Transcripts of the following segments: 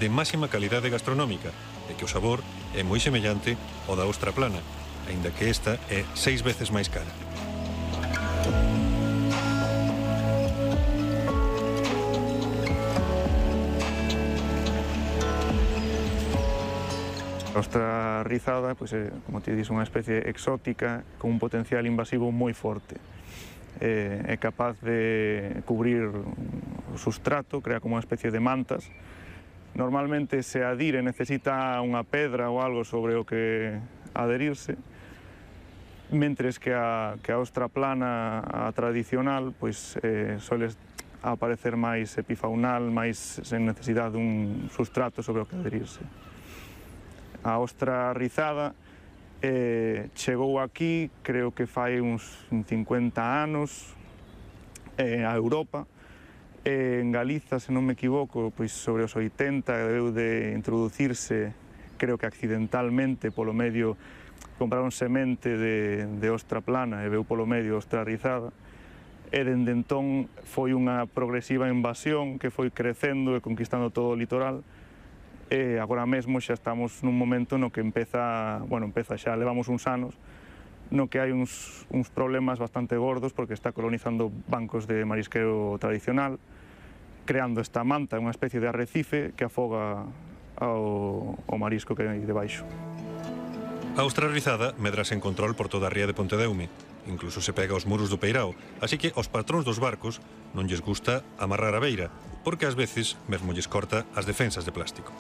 de máxima calidade gastronómica e que o sabor é moi semellante ao da ostra plana, aínda que esta é 6 veces máis cara. A ostra rizada, como te dis, unha especie exótica con un potencial invasivo moi forte. É capaz de cubrir o substrato, crea como unha especie de mantas. Normalmente se adire necesita unha pedra ou algo sobre o que adherirse, mentres que a ostra plana, a tradicional, soles aparecer máis epifaunal, máis sen necesidade dun substrato sobre o que adherirse. A ostra rizada chegou aquí, creo que fai uns 50 anos, a Europa. En Galiza, se non me equivoco, sobre os 80 debeu de introducirse, creo que accidentalmente, polo medio, compraron semente de ostra plana e veu polo medio ostra rizada. E dende entón foi unha progresiva invasión que foi crecendo e conquistando todo o litoral. E agora mesmo xa estamos nun momento no que empeza xa, levamos uns anos, no que hai uns problemas bastante gordos porque está colonizando bancos de marisqueo tradicional, creando esta manta, unha especie de arrecife que afoga o marisco que hai debaixo. A ostra rizada medra sen control por toda a ría de Pontedeume, incluso se pega aos muros do peirao, así que aos patróns dos barcos non lles gusta amarrar a beira, porque ás veces mesmo lles corta as defensas de plástico.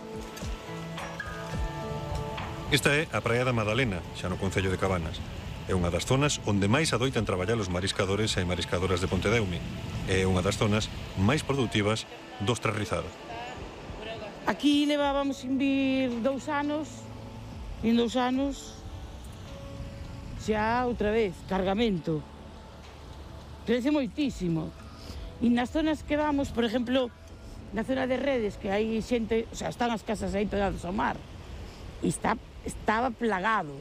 Esta é a Praia da Madalena, xa no concello de Cabanas. É unha das zonas onde máis adoitan traballar os mariscadores e mariscadoras de Pontedeume. É unha das zonas máis produtivas do ostra rizada. Aquí levábamos sin vir 2 anos, xa outra vez, cargamento. Crece moitísimo. E nas zonas que vamos, por exemplo, na zona de Redes, que hai xente, están as casas aí pegadas ao mar, e estaba plagado.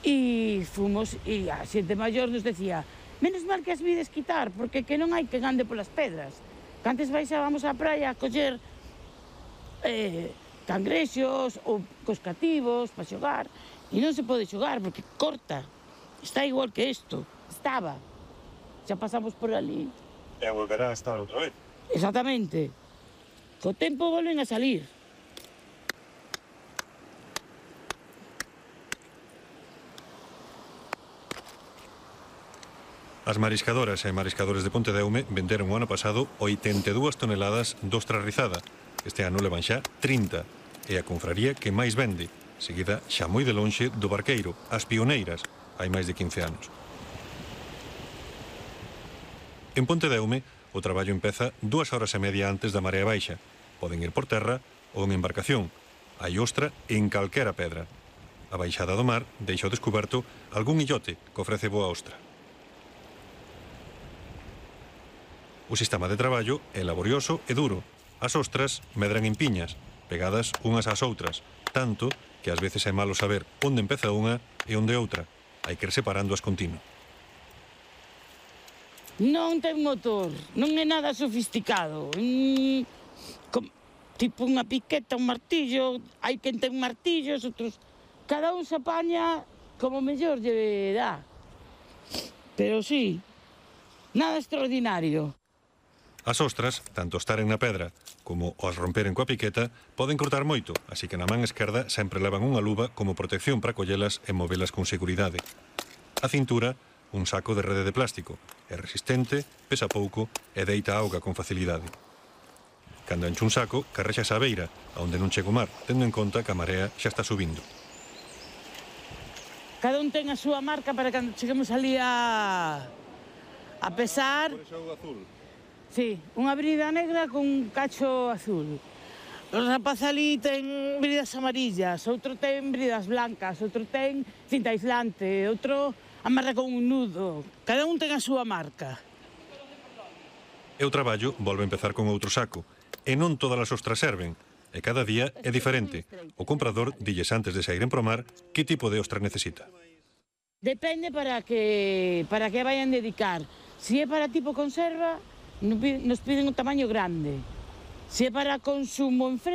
E fomos, e a xente maior nos decía, menos mal que as vides quitar, porque que non hai quen ande polas pedras. Que antes baixábamos á praia a coller cangrexos ou coscativos para xogar, e non se pode xogar porque corta. Está igual que isto. Estaba. Xa pasamos por ali. E volverá a estar outra vez. Exactamente. Co tempo volven a salir. As mariscadoras e mariscadores de Pontedeume venderon o ano pasado 82 toneladas de ostra rizada. Este ano levan xa 30. É a confraría que máis vende, seguida xa moi de lonxe do Barqueiro, as Pioneiras, hai máis de 15 anos. En Pontedeume, o traballo empeza 2 horas e media antes da marea baixa. Poden ir por terra ou en embarcación. Hai ostra en calquera pedra. A baixada do mar deixa ao descoberto algún illote que ofrece boa ostra. O sistema de traballo é laborioso e duro. As ostras medran en piñas, pegadas unhas ás outras, tanto que ás veces é malo saber onde empeza unha e onde outra. Hai que ir separándoas continuo. Non ten motor, non é nada sofisticado. Tipo unha piqueta, un martillo, hai quen ten martillos, outros... Cada un se apaña como mellor lle dá. Pero sí, nada extraordinario. As ostras, tanto estaren na pedra como as romperen coa piqueta, poden cortar moito, así que na man esquerda sempre levan unha luva como protección para collelas e movelas con seguridade. A cintura, un saco de rede de plástico. É resistente, pesa pouco e deita auga con facilidade. Cando enche un saco, carrexas a beira, onde non chega o mar, tendo en conta que a marea xa está subindo. Cada un ten a súa marca para cando cheguemos ali a pesar. Por iso azul. Sí, unha brida negra con un cacho azul. O rapaz ali ten bridas amarillas, outro ten bridas blancas, outro ten cinta aislante, outro amarra con un nudo. Cada un ten a súa marca. E o traballo volve a empezar con outro saco. E non todas as ostras serven. E cada día é diferente. O comprador dilles antes de saíren pro mar que tipo de ostra necesita. Depende para que vayan dedicar. Si é para tipo conserva, nos piden un tamaño grande. Si é para consumo en fresco,